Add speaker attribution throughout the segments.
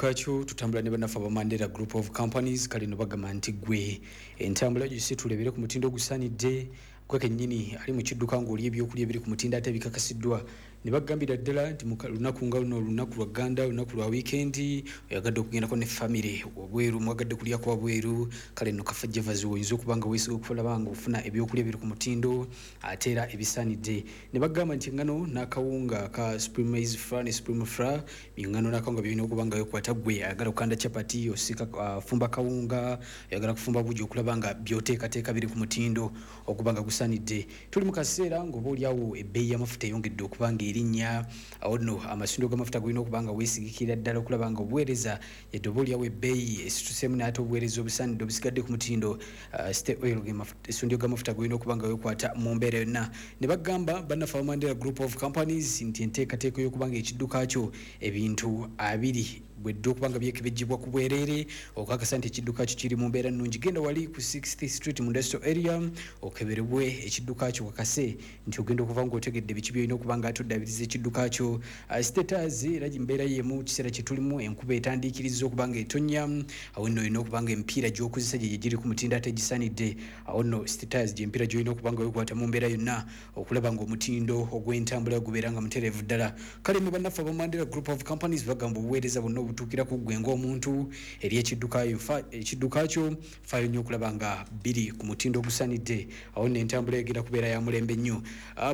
Speaker 1: Kakyo tutambula ne bannaffe aba Mandela Group of Companies. Kale no bagamba nti gwe entambula gisetula ebere ku mutindo ogusaanidde, gwe kennyini ali mu kidduka ng'oli ebyokulya ebiri ku mutindo ate ebikakasiddwa. Ne bagambira ddala nti lunaku nga luno, olunaku lwa gganda, olunaku lwa wiikendi, oyagadde okugendako ne famire wabweru, mwagadde kulyako wabweru, kale nno Kafa Javas oyinza okuba nga weesiga okulaba nga ofuna ebyokulya ebiri ku mutindo ate era ebisaanidde. Ne bagamba nti engano n'akawunga ka Supreme Maize Flour ne Supreme Flour, engano n'akawunga byolina okuba nga wekwata. Gwe ayagala okukanda chapati, osika fumba kawunga, oyagala kufumba bugi, okulaba nga byoteekateeka biri ku mutindo okuba nga gusaanidde. Tuli mu kaseera ng'oba oliawo ebbeeyi y'amafuta eyongedde okuba nga erinnya. Awo nno amasundo g'amafuta golina okuba nga weesigikira ddala okulaba nga obuweereza, yadde oba oliawo ebbeeyi esituseemu, naye ate obuweereza obusaanidde obusigadde ku mutindo. Stay Oil, essundiro g'amafuta golina okuba nga weekwata mu mbeera yonna. Ne bagamba bannaffe aba Mandela Group of Companies nti enteekateeka y'okuba nga ekidduka kyo ebintu 20 bwedde okuba nga byekebejjebwa ku bwereere okakasa nti ekidduka kyo kiri mu mbeera nnungi. Genda wali ku 6th Street mu industrial area okeberebwe ekidduka kyo, kakase nti ogenda okuva ng'otegedde biki byolina okuba nga ate oddabiriza ekidduka kyo. Status era mbeera yemu, kiseera kye tulimu enkuba etandiikiriza okuba nga etonnya. Awo nno olina okuba nga emipiira gy'okozesa gye giri ku mutindo ate egisaanidde. Awo nno status gy'emipiira gy'olina okuba nga weekwata mu mbeera yonna okulaba ng'omutindo ogw'entambula gubeera nga mutereevu ddala. Kale nno bannaffe aba Mandela Group of Companies bagamba obuweereza bwonna obutuukira ku ggwe ng'omuntu eri ekidduka kyo, faayo nnyo okulaba nga biri ku mutindo ogusaanidde. Awo nno entambula egenda kubeera ya mulembe nnyo.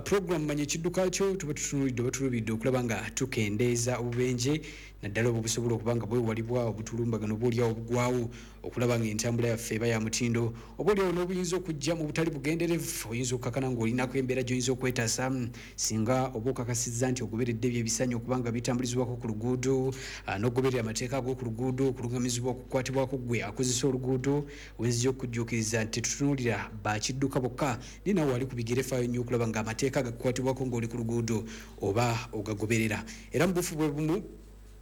Speaker 1: Program Manya Ekidduka Kyo tuba tutunuulidde oba tulubidde okulaba nga tukendeeza obubenje, naddala obwo busobola okuba nga bwewalibwa obutulumbagano oba oliawo obugwawo, okulaba nga entambula yaffe eba ya mutindo, oba oliawo n'obuyinza okujja mu butali bugenderevu. Oyinza okukakana ng'olinako embeera gy'oyinza okwetaasa singa oba okakasizza nti ogoberedde ebyo ebisaanye okuba nga bitambulizibwako ku luguudo, n'okugoberera amateeka ag'oku luguudo, okulungamizibwa okukwatibwako ggwe akozesa oluguudo. Wenzija okujjuukiriza nti tetutunuulira bakidduka bokka, naye nawe wali ku bigere faayo nnyo okulaba ng'amateeka agakukwatibwako ng'oli ku luguudo oba ogagoberera. Era mu bufu bwe bumu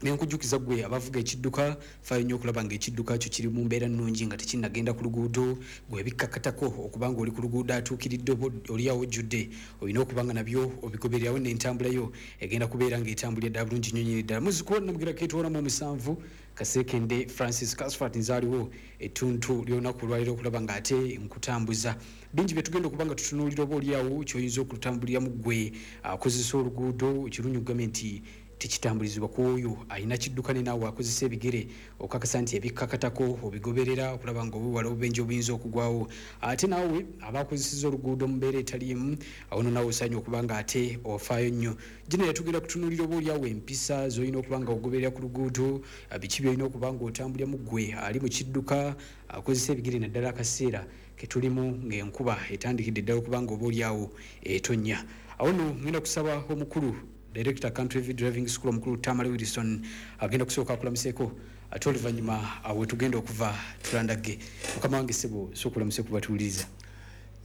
Speaker 1: nenkujjukiza gwe abavuga ekidduka, faayo nnyo okulaba nga ekidduka kyo kiri mu mbeera nnungi nga tekinnagenda ku luguudo. Gwe bikkakatako okuba nga oli ku luguudo atuukiridde oba oliawo ojjudde, olina okuba nga nabyo obigobererawo, n'entambulayo egenda kubeera ng'etambulira ddala bulungi nnyo nnyini ddala. Muzikuwa Namugira ketwalamu omusanvu Kasekende Francis Casfat, nzaaliwo ettuntu ly'olunaku olwaleero okulaba ng'ate nkutambuza bingi bye tugenda okuba nga tutunuulira, oba oliawo ky'oyinza okutambuliramu ggwe akozesa oluguudo. Ekirungi kugambye nti tekitambulizibwa ku oyo alina kidduka, ne naawe akozesa ebigere okakasa nti ebikkakatako obigoberera okulaba nga obiwala obubenje obuyinza okugwawo. Ate naawe abakozeseza oluguudo mu mbeera etali emu, awo no naawe osaanye okuba nga ate ofaayo nnyo. Gino yatugenda kutunuulira oba oliawo empisa z'olina okuba nga ogoberera ku luguudo, biki byolina okuba nga otambuliramu ggwe ali mu kidduka akozesa ebigere, naddala akaseera ketulimu ng'enkuba etandikidde ddala okuba nga oba oliawo etonnya. Awo nno ngenda kusaba omukulu director Country Driving School, omukulu Tamale Wilson, agenda kusooka akulamuseeko, ate oluvannyuma awo tugenda okuva tulandagge. Mukama wange ssebo, sooka olamuse kubatuwuliriza.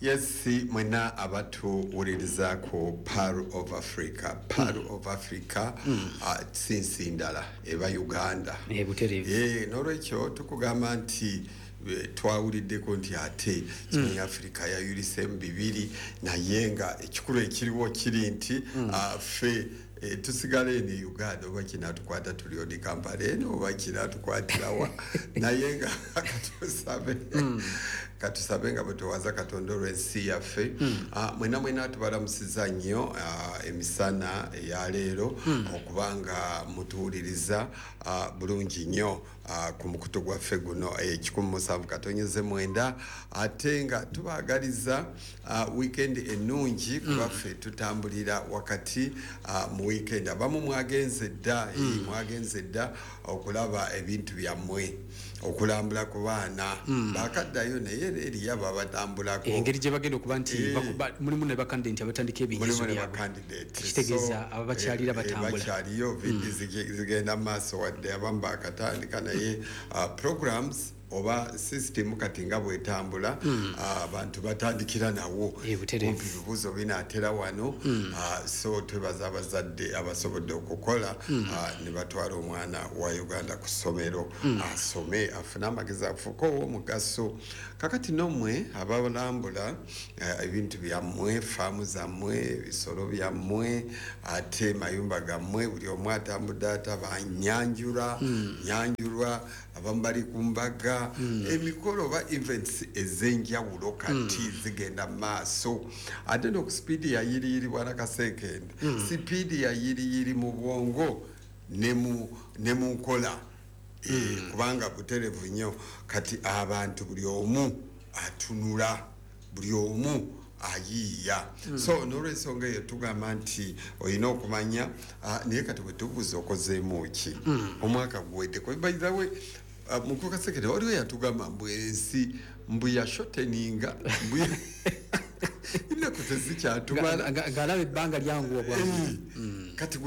Speaker 2: Yes, mwena abatuwuliriza ku Pearl of Africa, Pearl of Africa si nsi ndala, eba Uganda.
Speaker 1: Butereevu.
Speaker 2: N'olwekyo tukugamba nti twawuliddeko nti ate Kimanyi Africa yayulisemu bibiri, naye nga ekikulu ekiriwo kiri nti ffe tusigala eno e Uganda, oba kinatukwata tuli odi Kampala eno oba kinatukwatirawa, naye nga katusabe nga bwe twewaza Katonda olw'ensi yaffe. Mwena mwena tubalamusiza nnyo emisana eyaleero okubanga mutuwuliriza bulungi nnyo ku mukutu gwaffe guno 107.9, ate nga tubaagaliza weekend ennungi, kubaffe tutambulira wakati mu weekend. Abamu mwagenze dda, mwagenze dda okulaba ebintu byammwe, okulambula ku baana bakaddayo, naye era eriyo ababatambulako.
Speaker 1: Engeri gye bagenda okuba nti mulimu ne bakandidate abatandika ebinyizo
Speaker 2: Mulimu ne
Speaker 1: byabwe.
Speaker 2: Bakandidate.
Speaker 1: Kitegeeza ababakyalira batambula.
Speaker 2: Bakyaliyo, VD zigenda mu maaso, wadde abamu bakatandika, naye programs Oba system kati nga bwetambula, abantu batandikira nawo.
Speaker 1: Butereevu.
Speaker 2: Kumpi ebibuuzo binaatera wano. So twebaza abazadde abasobodde okukola ne batwala omwana wa Uganda ku ssomero asome, afune amagezi, afuuke ow'omugaso. Kakati nommwe abalambula ebintu byammwe, faamu zammwe, ebisolo byammwe, ate mayumba gammwe, buli omu atambudde, ate abanyanjula nyanjulwa, abamu bali ku mbaga, emikolo oba events ez'enjawulo kati zigenda mu maaso, ate noku sipiidi ya yiriyiri. Bwana Kasekende, sipiidi ya yiriyiri mu bwongo ne mu nkola. Kubanga buterevu nnyo kati abantu buli omu atunula, buli omu ayiiya. So n'olwensonga eyo tugamba nti olina okumanya, naye kati bwe tubuuza okozeemu ki omwaka guwedde? By the way, mukulu Kasekende, waliwo yatugamba mbu ensi mbu yashorteninga, mbu ennaku tezikyatumala.
Speaker 1: Ng'alaba ebbanga lyanguwa bwangu.
Speaker 2: Kati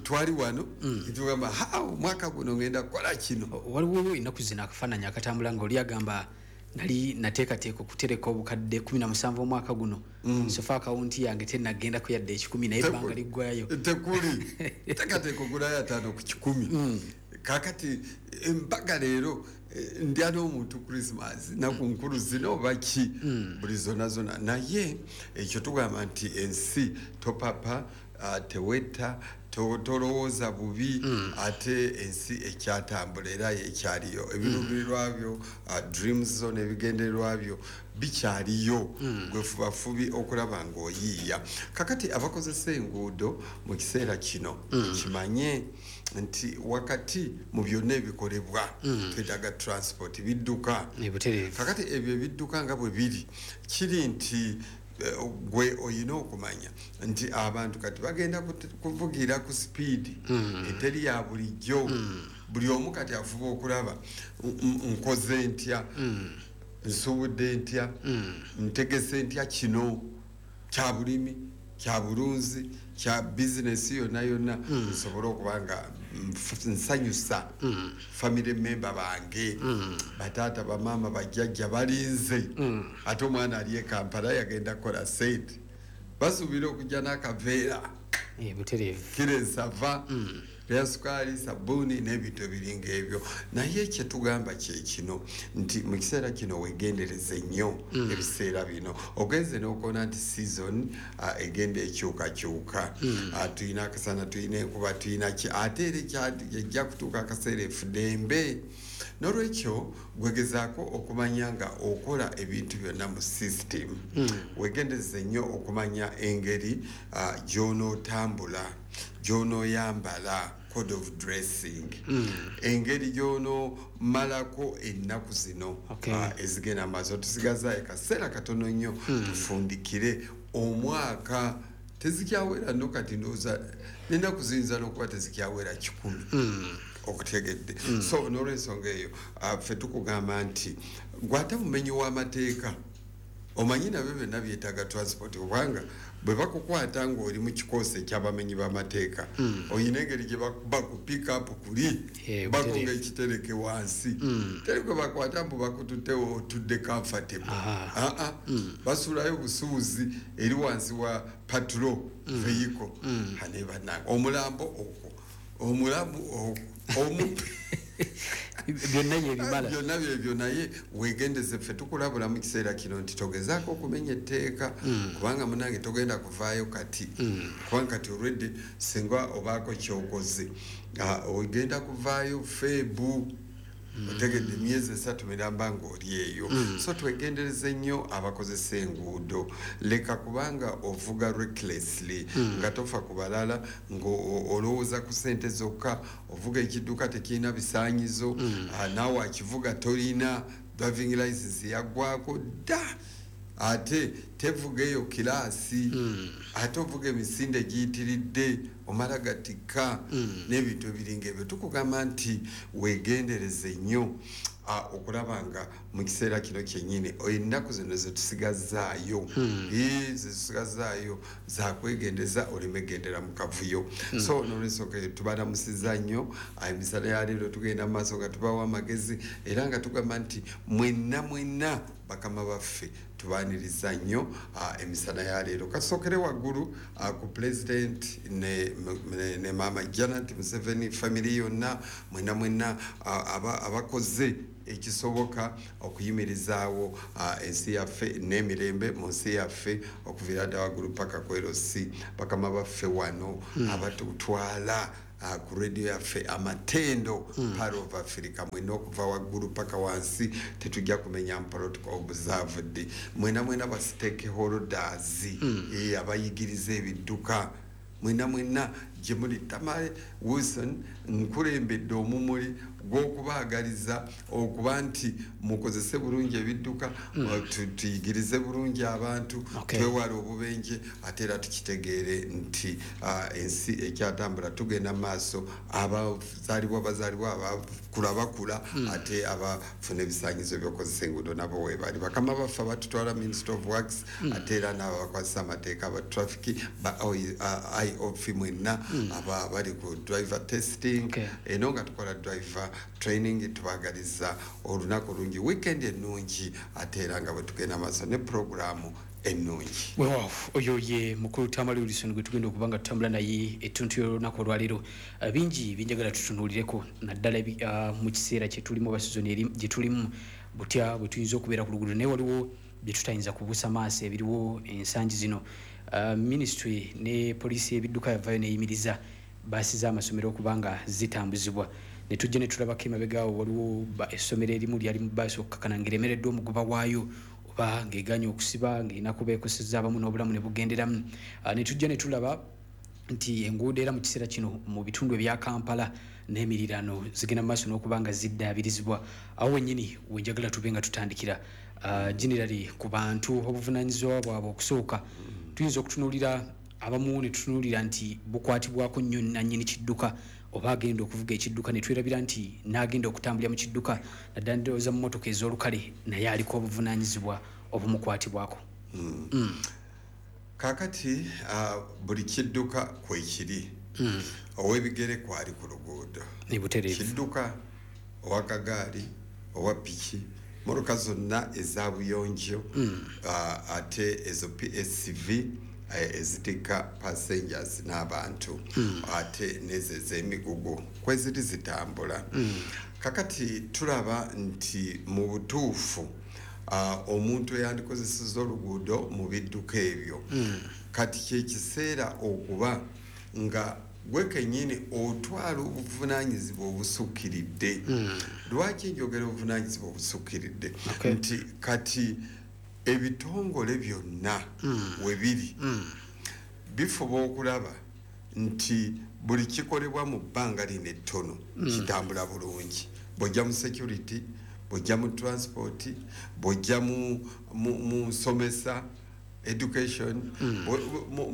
Speaker 2: twali wano tugamba, ha, omwaka guno ngenda kukola kino.
Speaker 1: Waliwo ennaku zino akafaananyi akatambula nga oli agamba, nali nateekateeka okutereka obukadde 17 omwaka guno, so far akawunti yange tenagendako yadde 100, naye ebbanga liggwayo.
Speaker 2: Tekuli teekateeka ogulayo 50 ku 100. Kakati embaga leero, ndya n'omuntu Christmas, naku nkulu zino oba ki, buli zonna zonna. Naye ekyo tugamba nti ensi topapa, tewetta, tolowooza bubi. Ate ensi ekyatambula era ekyaliyo, ebiruubirirwa byo, dreams zo n'ebigendererwa byo bikyaliyo. Gwe fubafubi okulaba ng'oyiiya. Kakati abakozesa enguudo mu kiseera kino, kimanye nti wakati mu byonna ebikolebwa twetaaga transport, bidduka.
Speaker 1: Butereevu.
Speaker 2: Kakati ebyo ebidduka nga bwe biri, kiri nti gwe oyina okumanya nti abantu kati bagenda kuvugira ku sipiidi eteri ya bulijjo. Buli omu kati afuba okulaba, nkoze ntya, nsuubudde ntya, ntegese ntya kino kya bulimi, kya bulunzi, kya bizinesi yonna yonna, nsobole okuba nga nsanyusa family member bange, bataata, bamaama, bajjajja balinze. Ate omwana ali e Kampala yagenda kukola sente, basuubira okujja n'akaveera
Speaker 1: Butereevu.
Speaker 2: Kiro ensava lya sukaali, sabbuuni n'ebintu ebiringa ebyo. Naye kyetugamba kyekino nti mu kiseera kino wegendereze nnyo. Ebiseera bino ogenze n'okoona nti season egenda ekyukakyuka. Tulina akasana, tulina enkuba, tulina ki, ate era ejja kutuuka akaseera efudembe. N'olwekyo gwegezaako okumanya nga okola ebintu byonna mu system. Wegendereze nnyo okumanya engeri gy'onootambula, gy'onooyambala, code of dressing, engeri gy'onoomalako ennaku zino ezigenda maaso. Tusigaza akaseera katono nnyo tufundikire omwaka. Tezikyawera nno kati, ndowooza n'ennaku ziyinza n'okuba tezikyawera 100. Okutegedde? So n'olwensonga eyo, ffe tukugamba nti gwate mumenyi w'amateeka, omanyi nabyo byonna byetaaga transport, kubanga bwe bakukwata ng'oli mu kikoosi ekyabamenyi b'amateeka, oyina engeri gye bakuba ku pickup kuli, bakonga ekitereke wansi. Teri gwe bakwata mbu bakututtewo otudde comfortable. Aa, basuulayo busuuzi eri wansi wa patrol vehicle. Ane bannange, omulambo okwo, omulamu okwo, omupe.
Speaker 1: Byonna yebimala.
Speaker 2: Byonna byebyo. Naye wegendeze, ffe tukulabula mu kiseera kino nti togezaako okumenya etteeka, kubanga munange togenda kuvaayo kati, kubanga kati olwedde singa obaako kyokoze, ogenda kuvaayo feebu. Otegedde? Emyezi 3 miramba ng'oli eyo. So twegendereze nnyo abakozesa enguudo. Leka kubanga ovuga recklessly, nga tofa ku balala, ng'olowooza ku sente zokka. Ovuga ekidduka tekirina bisaanyizo, naawe akivuga tolina driving license, yaggwako dda, ate tevuga eyo kiraasi, ate ovuga emisinde giyitiridde, omala gatikka n'ebintu ebiringa ebyo. Tukugamba nti weegendereze nnyo. Okulaba nga mu kiseera kino kyennyini ennaku zino zetusigazaayo, zetusigazaayo zakwegendeza oleme gendera mu kavuyo. So nolwensonga tubalamusiza nnyo emisana ya leero, tugenda mu maaso nga tubawa amagezi era nga tugamba nti mwenna mwenna bakama baffe tubaniriza nnyo emisana ya leero. Kasookere waggulu ku President ne Maama Janet Museveni, family yonna, mwenna mwenna abakoze ekisoboka okuyimirizaawo ensi yaffe n'emirembe mu nsi yaffe, okuviira ddala waggulu paka ku LC. Bakama baffe wano abatutwala ku radio yaffe Amatendo, Pearl of Africa, mwena okuva waggulu paka wansi, tetujja kumenya protocol observed. Mwena mwena ba stakeholders, abayigiriza ebidduka, mwena mwena gye muli, Tamale Wilson nkulembedde omumuli gw'okubaagaliza okuba nti mukozese bulungi ebidduka, tuyigirize bulungi abantu, twewale obubenje, ate era tukitegeere nti ensi ekyatambula, tugenda maaso. Abazaalibwa bazaalibwa, abakula bakula, ate abafuna ebisaanyizo by'okozesa enguudo nabo weebali. Bakama baffe abatutwala, Minister of Works, ate era n'abo abakwasisa amateeka, aba traffic, ba IOF, mwenna aba bali ku driver testing, eno nga tukola driver training, tubagaliza olunaku olungi, weekend ennungi, ate era nga bwe tugenda maaso ne programu ennungi.
Speaker 1: Weewaawo, oyo ye mukulu Tamale Wilson gwe tugenda okuba nga tutambula naye ettuntu y'olunaku olwaleero. Bingi byenjagala tutunuulireko, naddala mu kiseera kye tulimu oba sizoni eri gye tulimu, butya bwe tuyinza okubeera ku luguudo, naye waliwo bye tutayinza kubuusa maaso ebiriwo ensangi zino. Ministry ne poliisi y'ebidduka yavaayo neyimiriza baasi z'amasomero okuba nga zitambuzibwa, ne tujja ne tulabako emabega awo waliwo essomero erimu lyali mu baasi okukakana ng'eremereddwa omugoba waayo oba ng'eganye okusiba, ng'erina kuba ekosezza abamu n'obulamu ne bugenderamu. Ne tujja ne tulaba nti enguudo era mu kiseera kino mu bitundu ebya Kampala n'emirirano zigenda mu maaso n'okuba nga ziddaabirizibwa. Awo wennyini wenjagala tube nga tutandikira, generally ku bantu, obuvunaanyizibwa bwabwe okusooka. Tuyinza okutunuulira abamu ne tutunuulira nti bukwatibwako nnyo nannyini kidduka oba agenda okuvuga ekidduka, ne twerabira nti n'agenda okutambulira mu kidduka, naddala ndowooza mu mmotoka ez'olukale, naye aliko obuvunaanyizibwa obumukwatibwako.
Speaker 2: Kaakati buli kidduka kwekiri, ow'ebigere kwali ku luguudo,
Speaker 1: butereevu,
Speaker 2: kidduka, owakagaali, owa piki, motoka zonna eza buyonjo, ate ezo PSV ezitikka passengers n'abantu, ate nezo ez'emigugu kweziri zitambula. Kakati tulaba nti mu butuufu omuntu eyandikozeseza oluguudo mu bidduka ebyo, kati kyekiseera okuba nga gwe kennyini otwala obuvunaanyizibwa obusukkiridde. Lwaki njogera obuvunaanyizibwa obusukkiridde? Nti kati ebitongole byonna we biri bifuba okulaba nti buli kikolebwa mu bbanga lino ettono kitambula bulungi. Bw'ojja mu security, bw'ojja mu transport, bw'ojja mu nsomesa, education,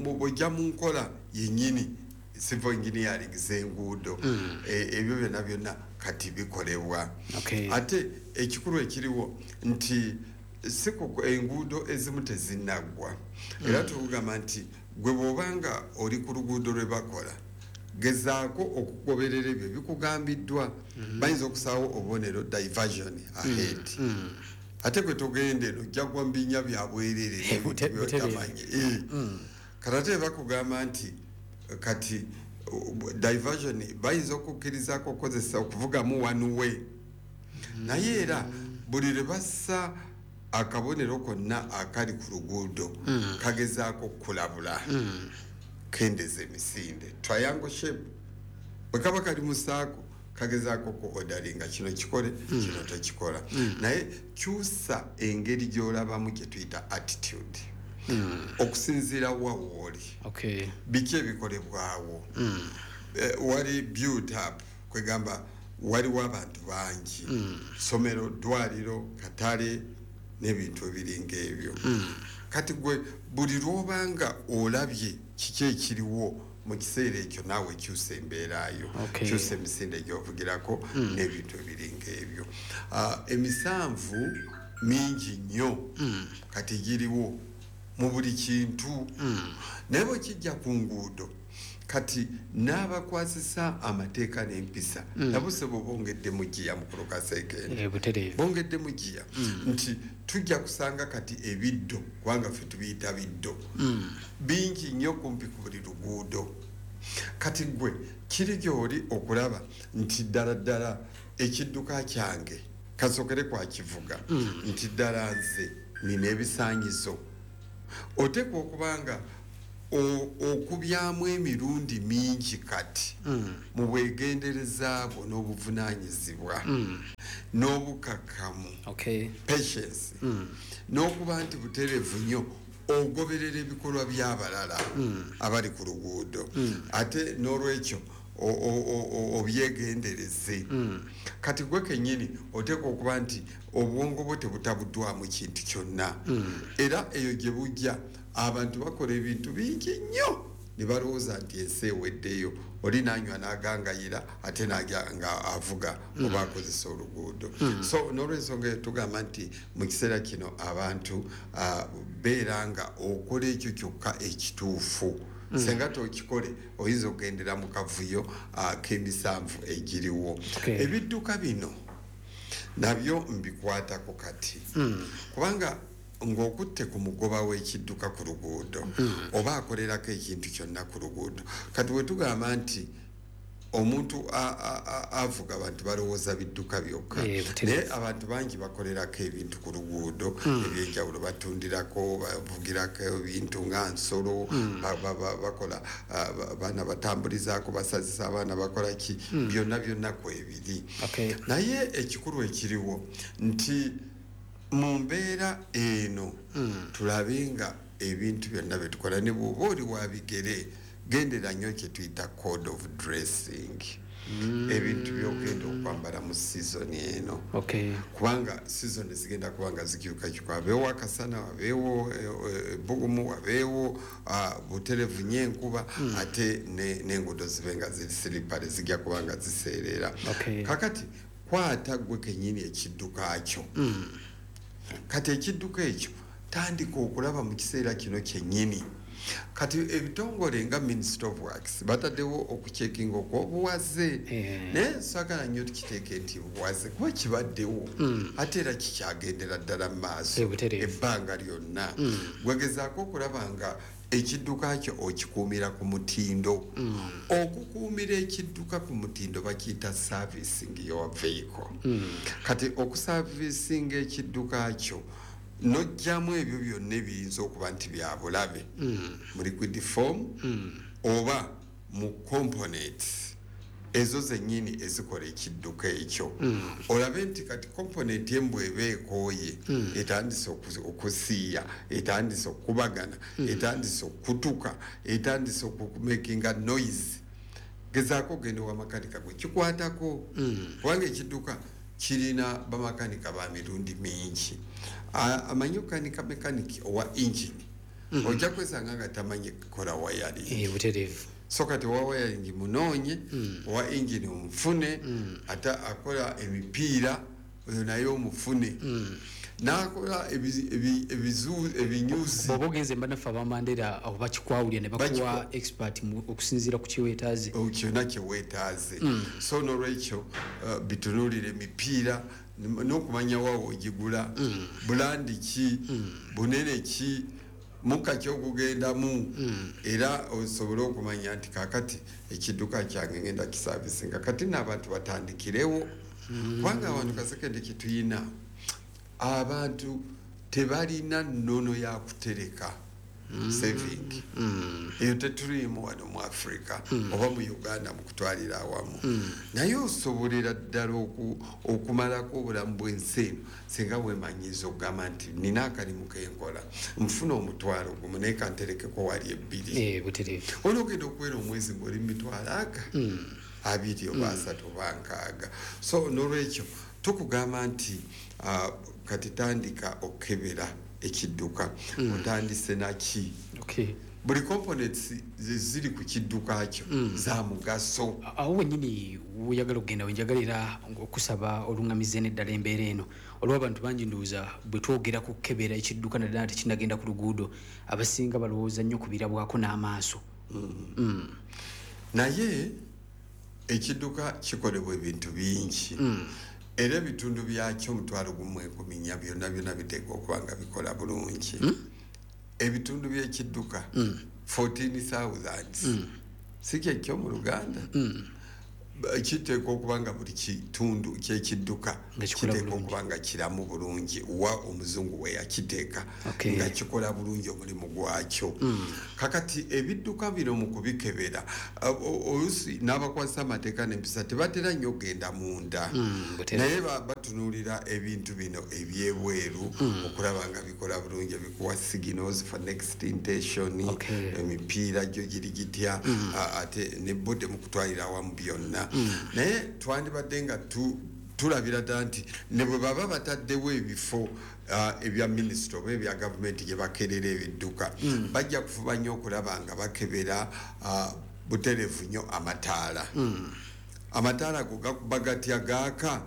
Speaker 2: bw'ojja mu nkola yennyini civil engineering z'enguudo, ebyo byonna byonna kati bikolebwa. Ate ekikulu ekiriwo nti si enguudo ezimu tezinnaggwa, era tukugamba nti gwe bw'obanga oli ku luguudo lwe bakola, gezaako okugoberera ebyo bikugambiddwa. Bayinza okusaawo obubonero diversion ahead, ate gwe togenda eno, ojja gwa mu binnya bya bwerere n'ebintu by'otamanyi. Kati ate bakugamba nti kati diversion bayinza okukkirizaako okukozesa okuvugamu one way, naye era buli lwe bassa akabonero konna akali ku luguudo kagezaako okukulabula, kendeza emisinde. Triangle shape bwe kaba kali mu saako, kagezaako ku orderinga kino kikole, kino tekikola. Naye kyusa engeri gy'olabamu, gye tuyita attitude, okusinziira wa wooli, biki ebikolebwawo. Wali built up, kwegamba waliwo abantu bangi, somero, ddwaliro, katale n'ebintu ebiringa ebyo. Kati gwe buli lwobanga olabye kiki ekiriwo Mu kiseera ekyo naawe kyusa embeerayo, kyusa emisinde gy'ovugirako n'ebintu ebiringa ebyo. Emisanvu mingi nnyo kati giriwo mu buli kintu, naye bwe kijja ku nguudo kati n'abakwasisa amateeka n'empisa nabo sebo bongedde mu giya. Mukulu Kasekende, bongedde mu giya nti tujja kusanga kati ebiddo, kubanga ffe tubiyita biddo, bingi nnyo kumpi ku buli luguudo. Kati gwe kiri gy'oli okulaba nti ddala ddala ekidduka kyange kasokere kwakivuga, nti ddala nze nina ebisaanyizo. Oteekwa okubanga okubyamu emirundi mingi kati mu bwegendereza bwo n'obuvunaanyizibwa n'obukakkamu, patience, n'okuba nti butereevu nnyo ogoberera ebikolwa by'abalala abali ku luguudo, ate n'olwekyo obyegendereze. Kati gwe kennyini oteekwa okuba nti obwongo bwo tebutabuddwamu kintu kyonna. Era eyo gye bujja abantu bakola ebintu bingi nnyo ne balowooza nti ensi eweddeyo. Oli nanywa n'agangayira, ate najja nga avuga oba akozesa oluguudo. So n'olwensonga eyo tugamba nti mu kiseera kino abantu beera nga okola ekyo kyokka ekituufu. Senga tokikole oyinza okugendera mu kavuyo k'emisanvu egiriwo. Ebidduka bino nabyo mbikwatako kati, kubanga ng'okutte ku mugoba w'ekidduka ku luguudo oba akolerako ekintu kyonna ku luguudo, kati bwe tugamba nti omuntu avuga, abantu balowooza bidduka byokka, naye abantu bangi bakolerako ebintu ku luguudo ebyenjawulo. Batundirako, bavugirako ebintu nga nsolo, bakola baana, batambulizaako, basazisa abaana, bakola ki, byonna byonna kwebiri. Naye ekikulu ekiriwo nti mu mbeera eno tulabe nga ebintu byonna byetukola, ne bw'oba oli wa bigere, gendera nnyo kye tuyita code of dressing, ebintu byogenda okwambala mu sizoni eno, kubanga sizoni zigenda kuba nga zikyukakyuka. Wabeewo akasana, wabeewo ebbugumu, wabeewo buterevu nnyo enkuba, ate n'enguudo zibe nga ziri slippery, zijja kuba nga ziseerera. Kakati kwata gwe kennyini ekidduka kyo. Kati ekidduka ekyo tandika okulaba mu kiseera kino kyennyini. Kati ebitongole nga Ministry of Works bataddewo okucekinga okwobuwaze, naye saagala nnyo tukiteeke nti buwaze, kuba kibaddewo ate era kikyagendera ddala mu maaso ebbanga lyonna. Gwegezaako okulaba nga ekidduka kyo okikuumira ku mutindo. Okukuumira ekidduka ku mutindo bakiyita servicing your vehicle. Kati okusavisinga ekidduka kyo, nojjamu ebyo byonna ebiyinza okuba nti bya bulabe mu liquid form oba mu components ezo zennyini ezikola ekidduka ekyo, olabe nti kati component embw eba ekooye, etandise okusiiya, etandise okubagana, etandise okutuka, etandise okumakinga noise, gezaako ogenda owa makanika gwe kikwatako, kubanga ekidduka kirina bamakanika ba mirundi mingi. Amanyi okukanika mekaniki owa engine, ojja kwesanga nga tamanyi kukola wiring. So kati owa wiring munoonye, owa engine omufune, ate akola emipiira oyo naye omufune, n'akola ebinyuzi.
Speaker 1: Bw'oba ogenze mbanaffe abamandera abo bakikwawulira ne bakuwa expert okusinziira ku kyeweetaaze.
Speaker 2: Kyonna kyeweetaaze. So nolwekyo bitunuulire emipiira n'okumanya waawo ogigula, brand ki, bunene ki, mukka kyokugendamu, era osobole okumanya nti kakati ekidduka kyange ngenda kisavisinga. Kati n'abantu batandikirewo, kubanga abantu Kasekende kituyina abantu tebalina nnono ya kutereka, saving. Eyo tetuliimu wano mu Africa oba mu Uganda mu kutwalira awamu, naye osobolera ddala okumalako obulamu bw'ensi eno singa weemanyiiza okugamba nti nina akalimu kenkola, nfuna 500,000, naye kanterekeko wali 2. Onoogenda okuwera omwezi ng'oli mu mitwalo aga 20 oba 30 oba 60. So nolwekyo tukugamba nti kati tandika okukebera ekidduka, otandise naki? Buli components ziri ku kidduka kyo za mugaso.
Speaker 1: Awo wennyini weyagala okugenda, wenjagalira okusaba oluŋŋamize n'eddala embeera eno, olw'abantu bangi ndowooza bwe twogera ku kukebera ekidduka naddala tekinnagenda ku luguudo, abasinga balowooza nnyo ku birabwako n'amaaso.
Speaker 2: Naye ekidduka kikolebwa ebintu bingi, era ebitundu byakyo 10,014 byonna byonna biteekwa okuba nga bikola bulungi. Ebitundu by'ekidduka 14,000, si kyekyo mu Luganda? Kiteekwa okuba nga buli kitundu kyekidduka
Speaker 1: Nga kikola
Speaker 2: kiteekwa
Speaker 1: bulungi.
Speaker 2: okuba nga kiramu bulungi wa omuzungu we yakiteeka, nga kikola bulungi omulimu gwakyo. Kakati ebidduka bino mu kubikebera, oluusi n'abakwasa amateeka n'empisa tebatera nnyo okugenda munda,
Speaker 1: Butera.
Speaker 2: naye batunuulira ebintu bino ebyebweru okulaba nga bikola bulungi, ebikuwa signals for next intention, emipiira gyo giri gitya, ate ne body mu kutwalira awamu byonna. Naye twandibadde nga tulabira ddala nti ne bwe baba bataddewo ebifo ebya minisitule oba ebya gavumenti gye bakerera ebidduka, bajja kufuba nnyo okulaba nga bakebera butereevu nnyo amataala. Amataala ago gakuba gatya? Gaaka,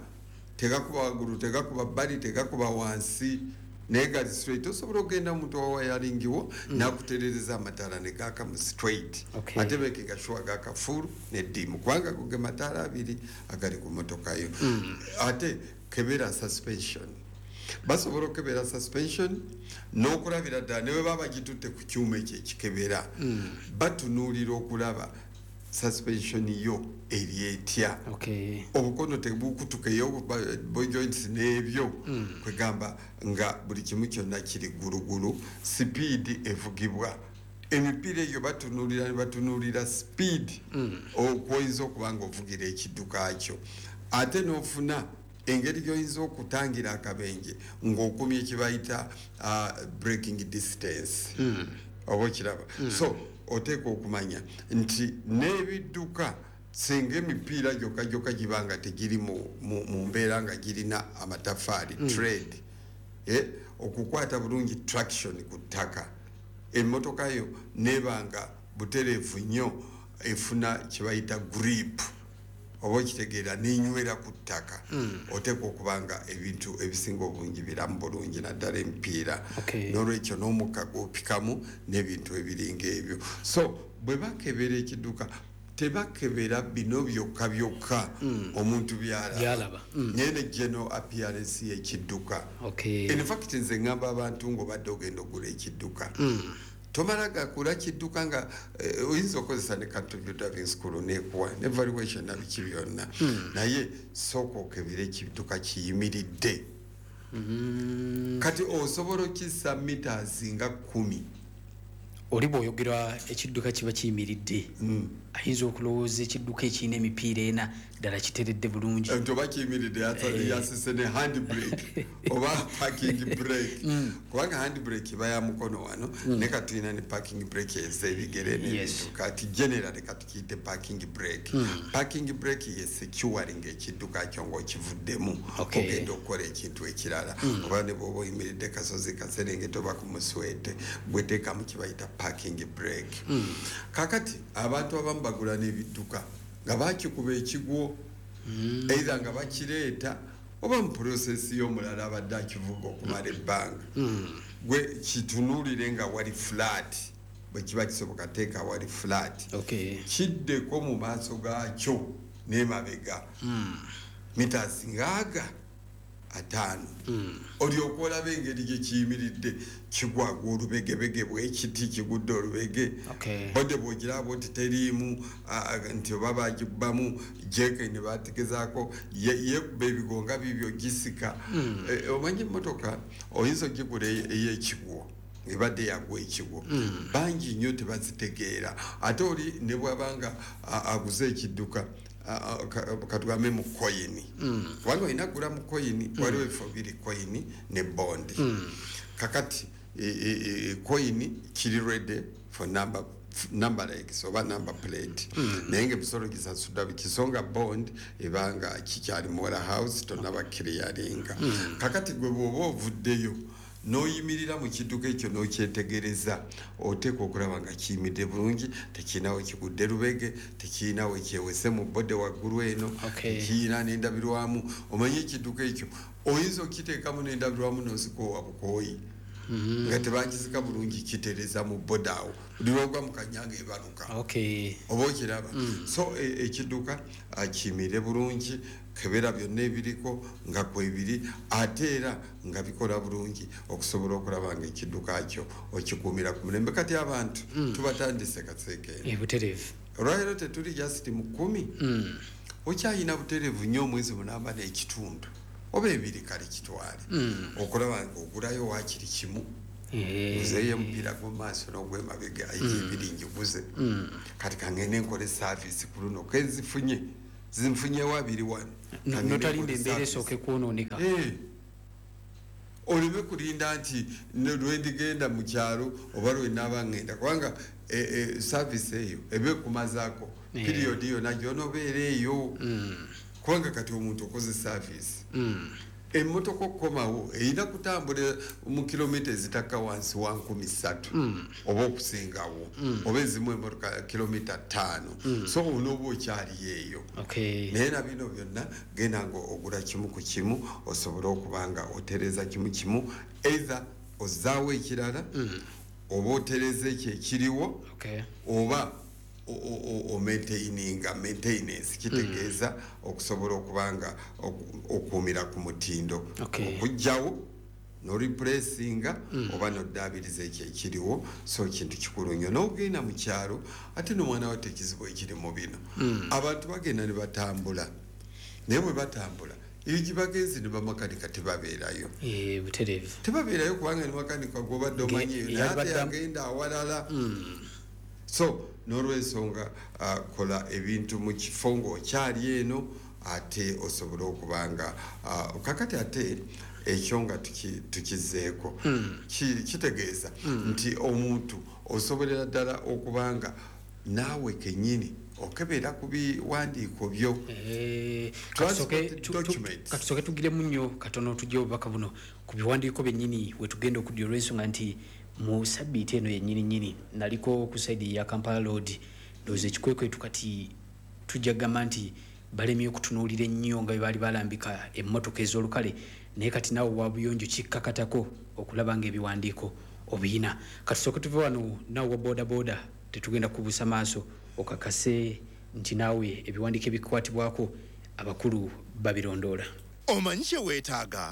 Speaker 2: tegakuba waggulu, tegakuba bbali, tegakuba wansi, naye gali straight. Osobola okugenda omuntu wa wiring wo nakuterereza amataala ne gaaka mu straight, ate making sure gaaka full ne dim, kubanga go ge mataala abiri agali ku motoka yo. Ate kebera suspension. Basobola okukebera suspension n'okulabira ddala ne bwe baba bagitutte ku kyuma ekyo ekikebera, batunuulira okulaba suspension yo eri etya, obukono tebukutukeyo, joints n'ebyo, kwegamba nga buli kimu kyonna kiri gulugulu. Sipiidi evugibwa emipiira egyo batunuulira ne batunuulira sipiidi okwoyinza okuba nga ovugira ekidduka kyo, ate n'ofuna engeri gy'oyinza okutangira akabenje ng'okumye kye bayita braking distance, oba okiraba. So oteekwa okumanya nti n'ebidduka singa emipiira gyokka gyokka giba nga tegiri mu mbeera nga girina amatafaali, tread, okukwata bulungi traction ku ttaka, emmotoka yo neba nga butereevu nnyo efuna kye bayita grip, oba okitegeera, nenywera ku ttaka, oteekwa okuba nga ebintu ebisinga obungi biramu bulungi, naddala emipiira. N'olwekyo n'omukka gwopikamu n'ebintu ebiringa ebyo. So bwe bakebera ekidduka tebakebera bino byokka byokka omuntu byalaba,
Speaker 1: Byalaba.
Speaker 2: Naye ne general appearance y'ekidduka. In fact, nze ŋŋamba abantu ng'obadde ogenda ogula ekidduka, tomala gakula kidduka nga oyinza okozesa ne Country View Driving School nekuwa ne valuation na biki byonna, naye sooka okebere ekidduka kiyimiridde. Kati osobola okissa meters nga 10.
Speaker 1: Oli bw'oyogera ekidduka kiba kiyimiridde, ayinza okulowooza ekidduka ekirina emipiira ena ddala kiteredde bulungi.
Speaker 2: Nti oba kiyimiridde, yasise ne hand brake oba parking brake, kubanga hand brake eba ya mukono wano, ne katulina ne parking brake ez'ebigere n'ebintu. Kati generally katukiyite parking brake. Parking brake ye securing ekidduka kyo ng'okivuddemu, ogenda okukola ekintu ekirala, oba ne bw'oba oyimiridde kasozi kaserengeta oba ku muswete, gweteekamu kibayita parking brake. Kakati abantu abamu bagula n'ebidduka nga bakikuba ekigwo, either nga bakireeta oba mu process y'omulala abadde akivuga okumala ebbanga. Gwe kitunuulire nga wali flat, bwe kiba kisoboka teeka wali flat, kiddeko mu maaso gaakyo n'emabega meters ngaaga 50, olyoka olaba engeri gye kiyimiridde. Kigwagwa olubegebege bwekiti kigudde olubege, body bwogiraba nti teriimu, nti oba bagibbamu jeke ne bategezaako yekuba ebigonga bibyo gisika. Omanyi emmotoka oyinza ogigula ey'ekigwo ebadde yagwa ekigwo, bangi nnyo tebazitegeera. Ate oli ne bwabanga aguze ekidduka, katugambe mu koyini, kubanga olina kugula mu koyini, waliwo ebifo biri, koyini ne bond. Kakati koyini kiri ready for number legs oba number plate, naye nga emisolo gisasudwa bikisonga. Bond ebanga kikyali mu warehouse, tonaba clearinga. Kakati gwe bw'oba ovuddeyo N'oyimirira mu kidduka ekyo n'okyetegereza, oteekwa okulaba nga kiyimiridde bulungi, tekirina we kigudde lubege, tekirina we kyewese mu body waggulu eno, tekirina n'endabirwamu. Omanye ekidduka ekyo oyinza okukiteekamu n'endabirwamu n'ozikoowa bukooyi, nga tebakizika bulungi, kitereza mu body awo, buli lwogwa mu kanyanga ebaluka. Oba okiraba? So ekidduka kiyimirire bulungi, kebera byonna ebiriko nga kwebiri, ate era nga bikola bulungi, okusobola okulaba nga ekidduka kyo okikuumira ku mulembe. Kati abantu tubatandise kaseekeeno.
Speaker 1: Butereevu.
Speaker 2: Olwaleero tetuli just mu 10, okyayina butereevu nnyo omwezi 8.5 oba 2, kale kitwale okulaba nga ogulayo waakiri kimu, nzeeyo omupiira gw'omumaaso n'ogwemabega egyebiri njiguze. Kati kangende nkole service ku luno, kenzifunye zinfunyewo 2 wano.
Speaker 1: Notalinda embeera esooke kwonooneka.
Speaker 2: Oleme kulinda nti lwendigenda mu kyalo oba lwenaaba ngenda, kubanga service eyo eba ekumazaako period yonna gy'onoobeera eyo. Kubanga kati omuntu okoze service, emmotoka okukomawo erina kutambula mu kilomita ezitakka wansi wa 3,000 oba okusingawo, oba ezimu emmotoka kilomita 5. So onooba okyaliyo eyo. Naye na bino byonna genda nga ogula kimu ku kimu, osobole okuba nga otereeza kimu kimu, either ozzaawo ekirala, oba otereeza ekyo ekiriwo, oba omaintaininga. Maintenance kitegeeza okusobola okuba nga okuumira ku mutindo, okuggyawo noreplacinga oba noddaabiriza ekyo ekiriwo. So kintu kikulu nnyo n'ogenda mu kyalo. Ate n'omwana watte, ekizibu ekiri mu bino, abantu bagenda ne batambula, naye bwe batambula eyo gye bagenze ne bamakanika tebabeerayo.
Speaker 1: Butereevu.
Speaker 2: Tebabeerayo, kubanga ne makanika gwobadde omanyiyo naye ate agenda awalala. So n'olwensonga kola ebintu mu kifo ng'okyali eno, ate osobole okuba nga kakati ate ekyo nga tukizeeko, kitegeeza nti omuntu osobolera ddala okuba nga naawe kennyini okebera ku biwandiiko byo.
Speaker 1: Katusooke tugiremu nnyo katono, tujje obubaka buno ku biwandiiko byennyini wetugenda okudya, olw'ensonga nti mu sabbiiti eno yennyini nnyini naliko ku side ya Kampala Road. Ndowooza ekikwekwetu kati tujja kugamba nti balemye okutunuulira ennyo nga bwe baali balambika emmotoka ez'olukale, naye kati naawe wa buyonjo kikkakatako okulaba ng'ebiwandiiko obiyina. Katusooke tuve wano. Naawe wa boodabooda, tetugenda kubuusa maaso, okakase nti naawe ebiwandiiko ebikwatibwako abakulu babirondoola.
Speaker 3: Omanyi kye weetaaga?